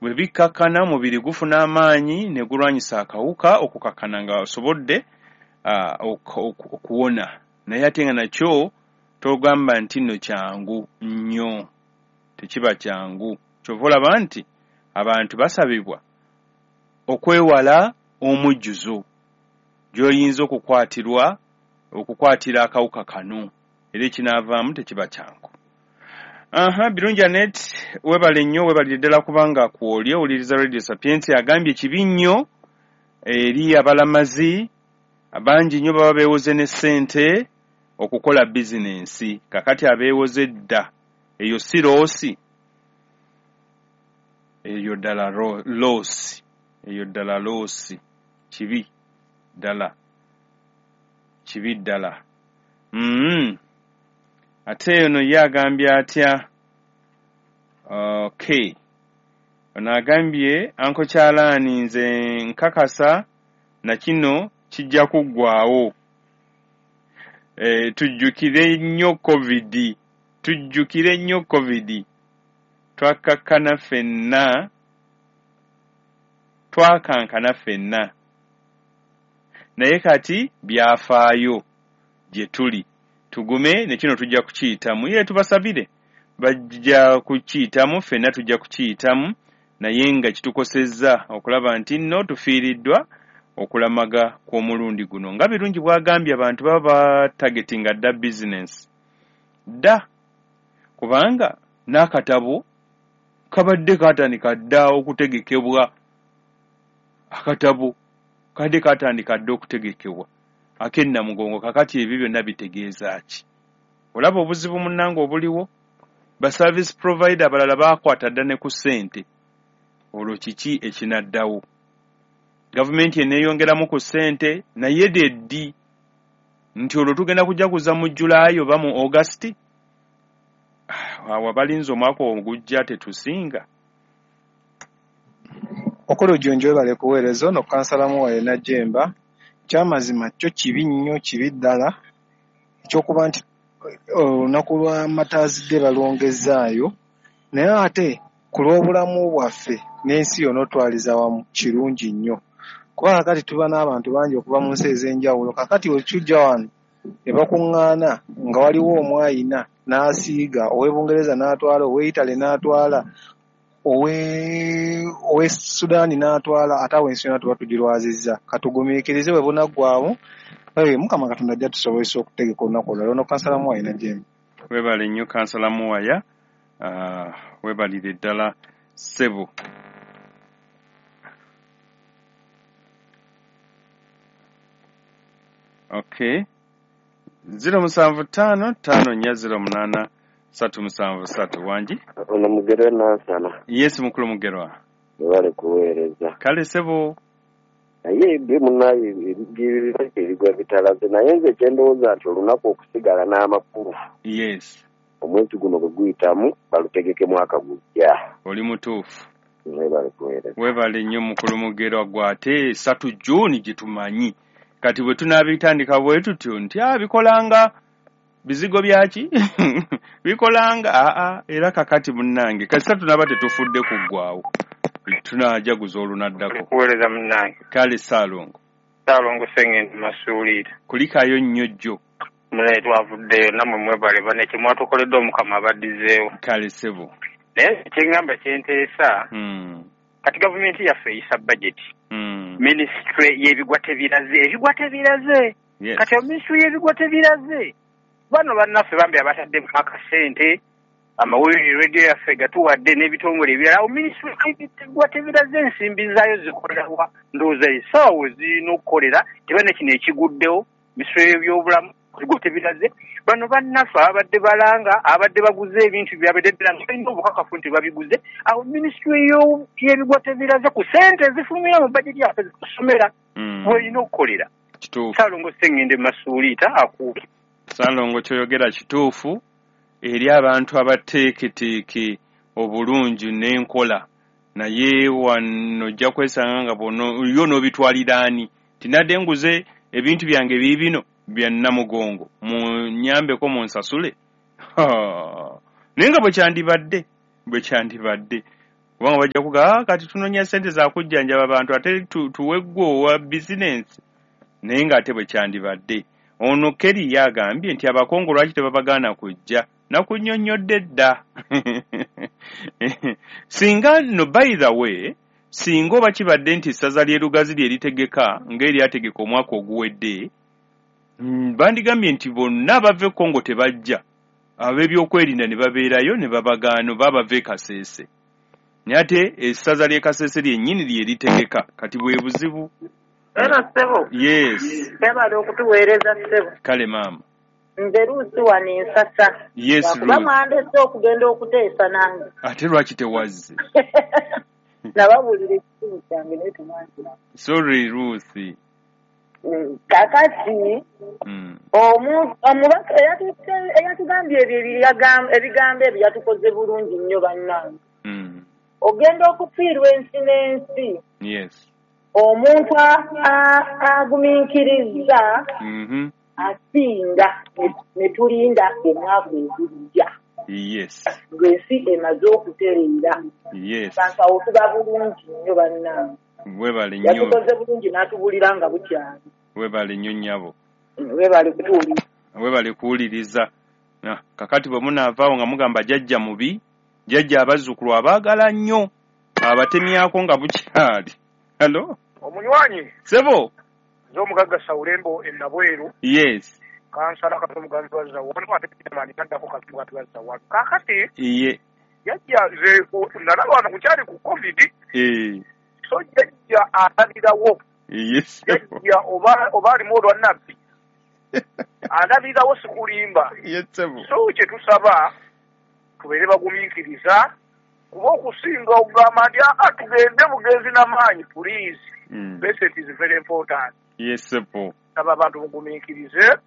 Bwe bikkakkana, omubiri gufuna amaanyi ne gulwanyisa akawuka, okukakkana nga osobodde okuwona. Naye ate nga nakyo togamba nti nno kyangu nnyo, tekiba kyangu. Kyova olaba nti abantu basabibwa okwewala omujjuzo gy'oyinza okukwatira akawuka kano, era ekinaavaamu tekiba kyangu. Aha, Birungi Anet, webale nnyo, webalire ddala kubanga kwoli owuliriza Radio Sapientia. Agambye kibi nnyo eri abalamazi bangi nnyo baba beewoze ne ssente okukola bizinensi. Kakati abeewoze dda, eyo si loss, eyo ddala loss, eyo ddala loss, kibi ddala, kibi ddala. Ate ono ye agambye atya? Okay, ono agambye Anko Kyalaani, nze nkakasa na kino kijja kuggwaawo. Tujjukire nnyo COVID, tujjukire nnyo COVID. Twakakkana ffenna, twakankana ffenna, naye kati byafaayo gye tuli. Tugume ne kino tujja kukiyitamu. Ye tubasabire, bajja kukiyitamu, ffenna tujja kukiyitamu, naye nga kitukosezza okulaba nti nno tufiiriddwa okulamaga kw'omulundi guno. Nga Birungi bw'agambye, abantu baba batargetinga dda business dda, kubanga n'akatabo kabadde kaatandika dda okutegekebwa. Akatabo kadde kaatandika dda okutegekebwa ak'ennamugongo. Kakati ebyo byonna bitegeeza ki? Olaba obuzibu munnange obuliwo, ba service provider abalala baakwata dda ne ku ssente. Olwo kiki ekinaddawo? Gavumenti eneeyongeramu ku ssente, naye ddi nti olwo tugenda kujaguza mu Julaayi oba mu August? Awo abalinze omwaka ogujja tetusinga. Mukulu Jjunju, webale kuweereza. Ono kansala Muwaye Najjemba. Kyamazima kyo kibi nnyo, kibi ddala ekyokuba nti olunaku lwa Martyrs Day balwongezzaayo, naye ate ku lw'obulamu bwaffe n'ensi yonna otwaliza wamu kirungi nnyo, kuba kakati tuba n'abantu bangi okuva mu nsi ez'enjawulo. Kakati wekijja wano ne bakuŋŋaana nga waliwo omwayina n'asiiga, ow'e Bungereza n'atwala, ow'e Italy n'atwala, ow'e Sudan n'atwala, ate awo ensi yonna tuba tugirwazizza. Katugumiikirize bwe bunaggwaawo, Mukama Katonda ajja tusobozesa okutegeka olunaku olulala. Ono kansala Muwaya Najjemba. Webale nnyo kansala Muwaya, webalire ddala ssebo. Okay, 075 54 08 373. Wangi? Ono Mugerwa Nansana. Yes, mukulu Mugerwa. Webale kuweereza. Kale ssebo. Naye ebyo munnaye ebigwa bitalaze, naye nze kyendowooza nti olunaku okusigala n'amakulu. Yes. Omwezi guno bwe guyitamu balutegeke mwaka gujja. Oli mutuufu. Webale kuweereza. Webale nnyo mukulu Mugerwa, gwe ate 3 June gye tumanyi. Kati bwe tunaabitandika bwe tutyo nti bikolanga bizigo byaki bikolanga era kakati munnange kasita tunaba tetufudde kuggwaawo tunaajaguza olunaddako. Kuweereza munnange. Kale Ssaalongo. Ssaalongo Ssengendo Masuuliita. Kulikayo nnyo jjo. Munaye twavuddeyo nammwe mwebale bane kye mwatukoledde Omukama abaddizeewo. Kale ssebo. Naye kyeŋŋamba kyenteesa, kati gavumenti yaffe eyisa budget. Minisitule y'ebigwa tebiraze, ebigwa tebiraze. Kati minisitule y'ebigwa tebiraze, bano bannaffe bambi abataddemu akasente, amawulire radio yaffe gatuwadde n'ebitongole ebirala, awo minisitule y'ebigwa tebiraze ensimbi zaayo zikolera wa? Ndowooza essaawa we zirina okukolera, teba ne kino ekiguddewo, minisitule y'ebyobulamu ebigwa tebiraze. Bano bannaffe ababadde balanga, ababadde baguze ebintu byabwe ddala nga balina obukakafu nti babiguze, awo minisitule y'ebigwa tebiraze ku ssente ezifulumira mu bajeti yaffe zitusomera bw'erina okukolera. Kituufu. Ssaalongo Ssengendo Masuuliita akuuke. Ssaalongo ky'oyogera kituufu eri abantu abateeketeeke obulungi n'enkola, naye wano ojja kwesanga nga yo n'obitwalira ani tinadde nguze ebintu byange biibino bya Namugongo, munnyambeko munsasule. Naye nga bwe kyandibadde. Kubanga bajja kugamba kati tunoonya ssente za kujjanjaba abantu ate tuwe ggwe owa bizinensi, naye ng'ate bwe kyandibadde. Ono Kerry yagambye nti Abakongo lwaki tebabagaana kujja, nakunnyonnyodde dda. Singa no, by the way, singa oba kibadde nti essaza ly'e Lugazi lye litegeka ng'eryategeka omwaka oguwedde, bandigambye nti bonna abava e Kongo tebajja, ab'ebyokwerinda ne babeerayo ne babagaana oba abava e Kasese. Naye ate essaza ly'e Kasese lyennyini lye litegeka, kati bwe buzibu. Era ssebo. Yes. Webale okutuweereza ssebo. Kale maama. Nze Ruth wano ensasa. Yes, Ruth. Mwandese okugenda okuteesa nange. Ate lwaki tewazze? Nababuulira ekizibu kyange naye temwanzira. Sorry Ruth. Kakati omubaka eyatugambye ebyo ebigambo ebyo yatukoze bulungi nnyo bannange. Ogenda okufiirwa ensi n'ensi. Yes. Omuntu agumiikiriza asinga ne tulinda omwaka ogujja. Yes. Ng'ensi emaze okutereera. Yes. Abantu awo tuba bulungi nnyo bannange. Webale nnyo. Yatukoze bulungi n'atubulira nga bukyali. Webale nnyo nnyabo. Webale kutuwuliriza. Webale kuwuliriza. Kakati bwe munaavaawo nga mugamba jjajja mubi, jjajja abazzukulu abaagala nnyo, abatemyako nga bukyali. Hello? Omunywanyi. Sebo. Nze omugagga Saulembo e Nabweru. Yes. Kansala Kato Muganzi wa Zawano ate Chairman addako Kato Muganzi wa Zawano. Kaakati. Iye. Jjajja nze nalaba wano kukyali ku COVID. So jjajja alabirawo. Yes. Jjajja oba alimu olwa nabbi. Alabirawo sikulimba. Yes, sebo. So kye tusaba tubeere bagumiikiriza. Kuba okusinga okugamba nti tugende bugenzi n'amaanyi, please. Patient is very important. Yes, sebo. Saba abantu mugumiikirize.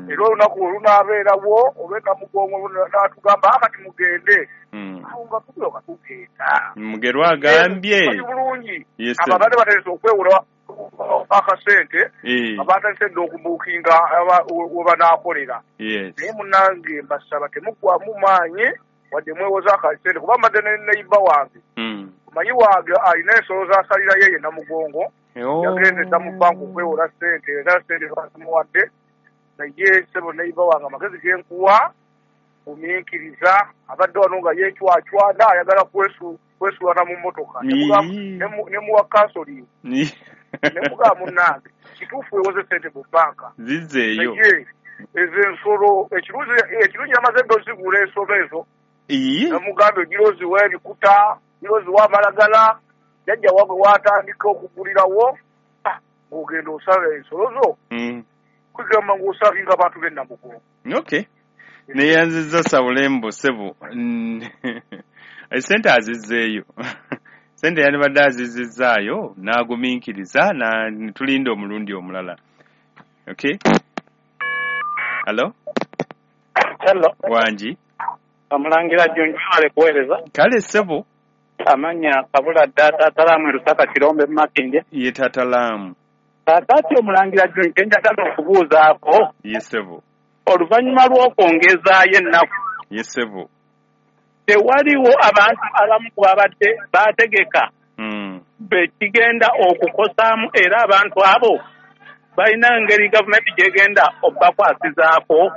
Era olunaku olunaabeerawo oba Namugongo n'atugamba kati mugende. Awo nga tulyoka tugenda. Mugerwa agambye. Bulungi. Abo abadde batandise okwewola akasente, abatandise dda okubuukinga we banaakolera. Naye munnange mbasaba temuggwamu maanyi wadde mwewoza akasente kuba mbadde ne neighbor wange. Omanyi wange alina ensolo z'asalirayo ye Namugongo. Yagenze dda mu banka okwewola ssente era ssente bazimuwadde. Naye ssebo neighbor wange amagezi ge nkuwa gumiikiriza, abadde wano nga yeecwacwana ayagala kwesuulana mu mmotoka. Ne muwa counseling. Ne mugamba munnange kituufu weewoze ssente mu banka. Zizzeeyo. Naye ezo ensolo ekirungi yamaze dda ozigula ensolo ezo. Namugambye ogira oziwa ebikuta, gira oziwa amalagala, jjajja wabwe waatandika okugulirawo, ng'ogenda osala ensolo zo. Kugamba ng'osavinga abantu b'e Namugongo. Okay. Neyanzizza Saulembo ssebo. Essente azizzeeyo. Ssente yandibadde azizizzaayo n'agumiikiriza ne tulinda omulundi omulala. Okay. Hello? Hello. Wangi. Omulangira Junju webale kuweereza. Kale ssebo. Amannya Kabula dda Taata Laamu e Lusaka Kirombe mu Makindye. Ye Taata Laamu. Kaakati omulangira Junju kye njagala okubuuzaako. Ye ssebo. Oluvannyuma lw'okwongezaayo ennaku. Ye ssebo. Tewaliwo abantu abamu ku babadde baategeka. Bekigenda okukosaamu era abantu abo balina engeri gavumenti gy'egenda obbakwasizaako.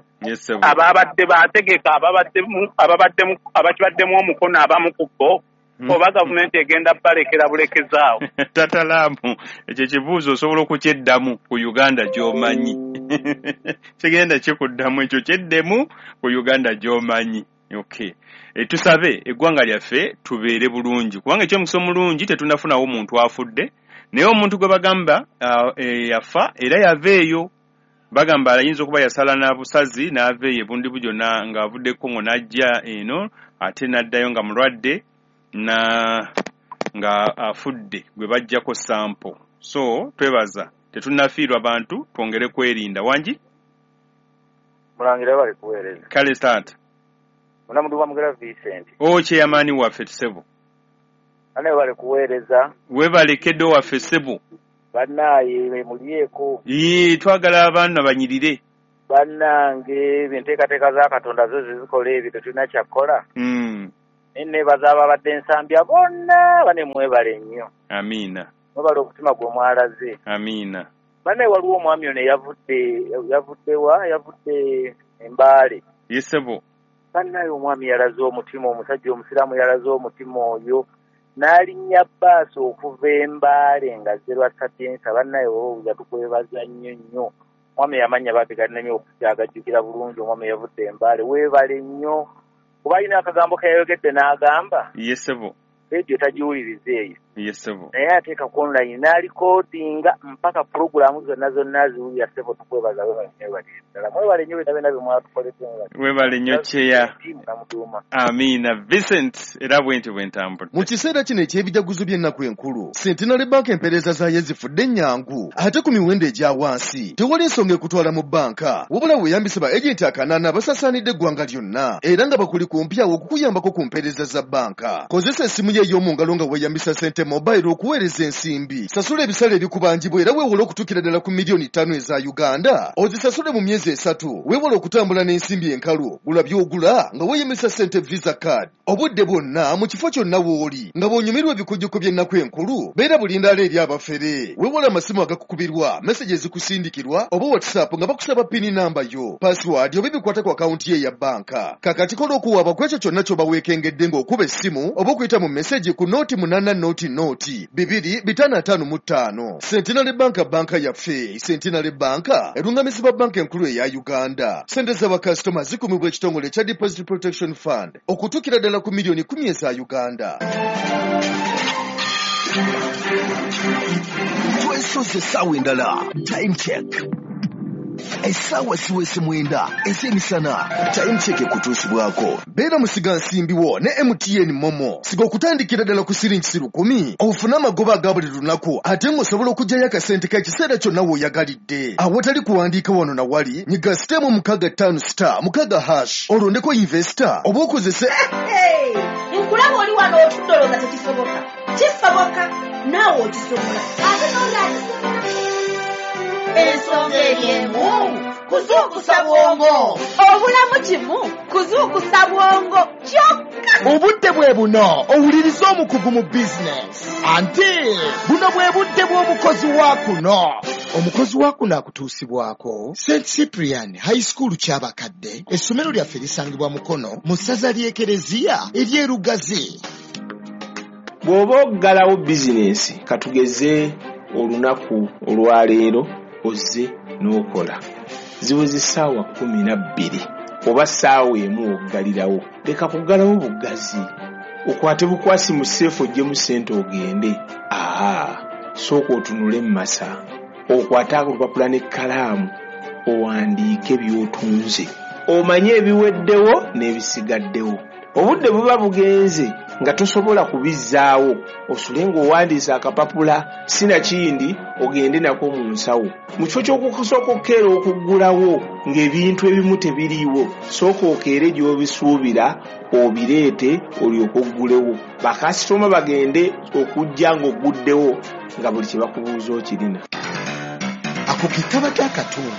Ababadde baategeka abakibaddemu omukono abamu ku bo oba gavumenti egenda balekera bulekezaawo. Taata Laamu, ekyo ekibuuzo osobola okukyeddamu ku Uganda gy'omanyi. Kigenda kikuddamu ekyo kyeddemu ku Uganda gy'omanyi. Okay. Tusabe eggwanga lyaffe tubeere bulungi kubanga ekyomukisa omulungi tetunnafunawo muntu afudde, naye omuntu gwe bagamba yafa era yava eyo. Bagamba ayinza okuba yasala na busazi n'ava eyo ebundibu gyonna ng'avudde e Congo n'ajja eno ate n'addayo nga mulwadde na nga afudde gwe baggyako sample. So twebaza tetunnafiirwa bantu, twongere kwerinda. Wangi? Mulangira bali kuweereza. Kale taata. Munamudu wa Mugera Vincent. O chairman waffe ssebo. Ane bali kuweereza. Webale keddo waffe ssebo. Bannaaye mulyeko. Yee, twagala abaana banyirire. Bannange enteekateeka za Katonda zo zizikola ebyo tetulina kyakukola. Nebaza ababadde ensambya bonna bane mwebale nnyo. Amiina. Mwebale omutima gwe mwalaze. Amiina. Bane waliwo omwami ono yavudde Embaale. Yesebo. Bannaye omwami yalaze omutima, omusajja omusiraamu yalaze omutima oyo n'alinnya bbaasi okuva Embaale nga azze lwa Sapienza. Bannaye owuza tukwebaza nnyo nnyo. Omwami yamanya bambi gannemye okukyagajjukira bulungi. Omwami yavudde Embaale, weebale nnyo. Kuba alina akagambo ke yayogedde n'agamba. Yesebo. Rediyo tagiwuliriza eyo. Yesebo. Naye ateeka ku online n'alikodinga mpaka pulogulaamu zonna zonna aziwulira. Ssebo tukwebaza, webale ddala. Mwebale nnyo byonna byonna bye mwatukoledde. Webale nnyo Kyeya. Amiina. Vincent, era bwentyo bwe ntambudde. Mu kiseera kino eky'ebijaguzo by'ennaku enkulu, Centenary Bank empeereza zaayo zifudde ennyangu ate ku miwendo egya wansi. Tewali nsonga ekutwala mu bbanka, wabula weeyambise ba agenti akanaana abasaasaanidde eggwanga lyonna era nga bakuli kumpi awo okukuyambako ku mpeereza za bbanka. Kozesa essimu yo ey'omu ngalo nga weeyambisa Sente Mobile okuweereza ensimbi. Sasula ebisale ebikubanjibwa era weewole okutuukira ddala ku 5 million eza Uganda. Ozisasule mu myezi 3. Weewale okutambula n'ensimbi enkalu. Gula by'ogula nga weeyambisa Sente Visa Card. Obudde bwonna mu kifo kyonna w'oli nga bw'onyumirwa ebikujjuko by'ennaku enkulu, beera bulindaala eri abafere. Weewale amasimu agakukubirwa, message ezikusindikirwa oba WhatsApp nga bakusaba PIN namba yo, password oba ebikwata ku akawunti ye eya bbanka. Kakati kola okuwaaba ku ekyo kyonna ky'oba weekengedde ng'okuba essimu oba okuyita mu message ku 080 0 2 555. Centenary Bank, banka yaffe. Centenary Bank erungamizibwa Banka Enkulu eya Uganda. Sente z'abakasitoma zikuumibwa ekitongole ekya Deposit Protection Fund okutuukira ddala ku 10 million eza Uganda. Twesoze essaawa endala. Time Check, essaawa siwese 9 ez'emisana. Time Check ekutuusibwako Beera musigansimbi wo ne MTN MoMo. Siga okutandikira ddala ku siringisi 1,000 ofune amagoba aga buli lunaku, ate ng'osobola okuggyayo akasente k'ekiseera kyonna w'oyagalidde awatali kuwandiika wano na wali. Nyiga *165*6# olondeko invest oba okozese Nkulaba oli wano otudde olowooza tekisoboka. Kisoboka, naawe okisobola, ate n'oli akisobola. Ensonga eri emu, kuzuukusa bwongo. Obulamu kimu kuzuukusa bwongo kyokka. Obudde bwe buno owuliriza omukugu mu bizinesi, anti buno bwe budde bw'omukozi wa kuno. Omukozi wa kuno akutuusibwako St Cyprian High School Kyabakadde. Essomero lyaffe lisangibwa Mukono mu ssaza ly'Ekereziya ery'Erugazi. Bw'oba oggalawo bizinensi, katugeze olunaku olwaleero ozze n'okola, ziweze essaawa 12 oba ssaawa 1, oggalirawo. Leka kuggalawo buggazi, okwate bukwasi mu safe oggyemu ssente ogende. Aa, sooka otunule mu masa, okwate olupapula n'ekkalaamu, owandiike by'otunze, omanye ebiweddewo n'ebisigaddewo. Obudde buba bugenze nga tosobola kubizzaawo. Osule ng'owandiise akapapula, sinakindi ogende nako mu nsawo. Mu kifo ky'okusooka okukeera okuggulawo ng'ebintu ebimu tebiriiwo, sooka okeere gy'obisuubira obireete, olyoke oggulewo, bakasitoma bagende okujja ng'ogguddewo nga buli kye bakubuuza okirina. Ako ke kabadde akatundu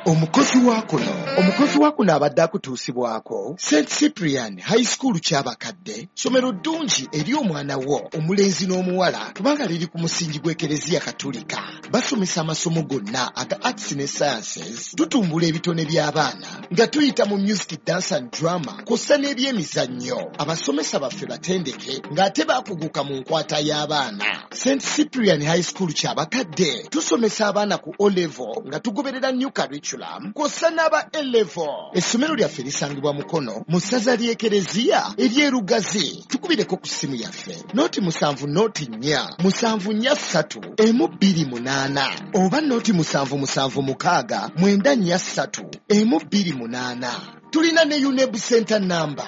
omukozi wa kuno. Omukozi wa kuno abadde akutuusibwako St Cyprian High School Kyabakadde. Ssomero ddungi eri omwana wo omulenzi n'omuwala kubanga liri ku musingi gw'Ekereziya Katulika. Basomesa amasomo gonna aga arts ne sciences. Tutumbula ebitone by'abaana nga tuyita mu music, dance and drama kw'ossa n'ebyemizannyo. Abasomesa baffe batendeke ng'ate bakuguka mu nkwata y'abaana. St Cyprian High School Kyabakadde tusomesa abaana ku O level nga tugoberera new curriculum kw'ossa n'aba A level. Essomero lyaffe lisangibwa Mukono mu ssaza ly'Ekereziya ery'Erugazi. Tukubireko ku ssimu yaffe 070 474 128 oba 077 694 128. Tulina ne UNEB center number.